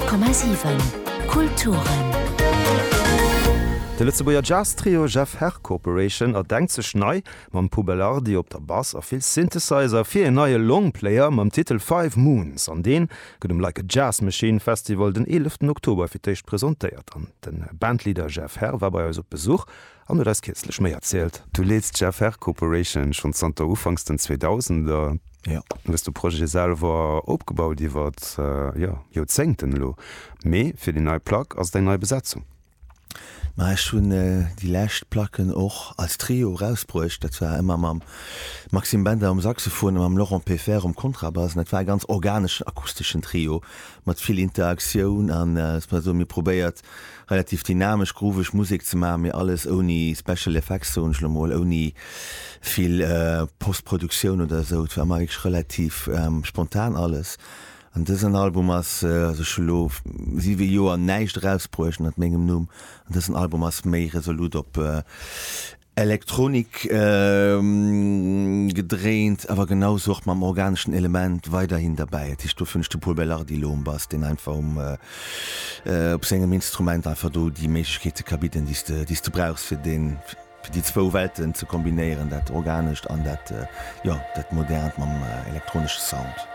100,7 Kulturen. De Lëtzebuerger Jazz-Trio Jeff Herr Corporation erdenkt sech nei, mam Pau Belardi op der Bass a vill Synthesizer, fir een neie Longplayer mam Titel Five Moons. An deen gëtt um Like a Jazz Machine Festival den 11 Oktober fir d'éischt presentéiert. An de Bandleader Jeff Herr war bei eis op Besuch an huet eis kierzlech méi erzielt. Du leeds d'Jeff Herr Corporation schonn zanter ufanks den 2000er. Jo. Du hues de Projet selwer opgebaut iwwer, jo, Joerzéngten elo. Mee fir déi nei Plack ass et eng nei Besetzung. Ma ech hunn déi lescht Placken och als Trio erausbruecht. Dat war ëmmer mam Maxime Bender um Saxophon a mam Laurent Peffer um Kontrabass. An dat war e ganz organeschen, akusteschen Trio mat vill Interaktioun an, ech soen, mir probéiert, relativ dynamesch, grooveg Musek ze maachen, mee alles ouni Special Effects, soen ech elo mol, ouni vill Postproduktioun oder esou. Et war ëmmer wierklech relativ spontan alles. An dësen Album ass, also ech hu lo 7 Joer näischt erausbruecht ënnert mengem Numm, an dësen Album ass méi resolut op Elektronik gedréint, awer genau sou och mam organeschen Element weiderhin derbäi. Dat heescht, dofir hunn ech de Pol Belardi elo um Bass, deen einfach um op sengem Instrument einfach do déi Méiglechkeete ka bidden, déi s de déi s de brauchs, fir deen fir déi zwou Welten ze kombinéieren, dat Organescht an dat, jo, dat Modernt mam elektronesche Sound.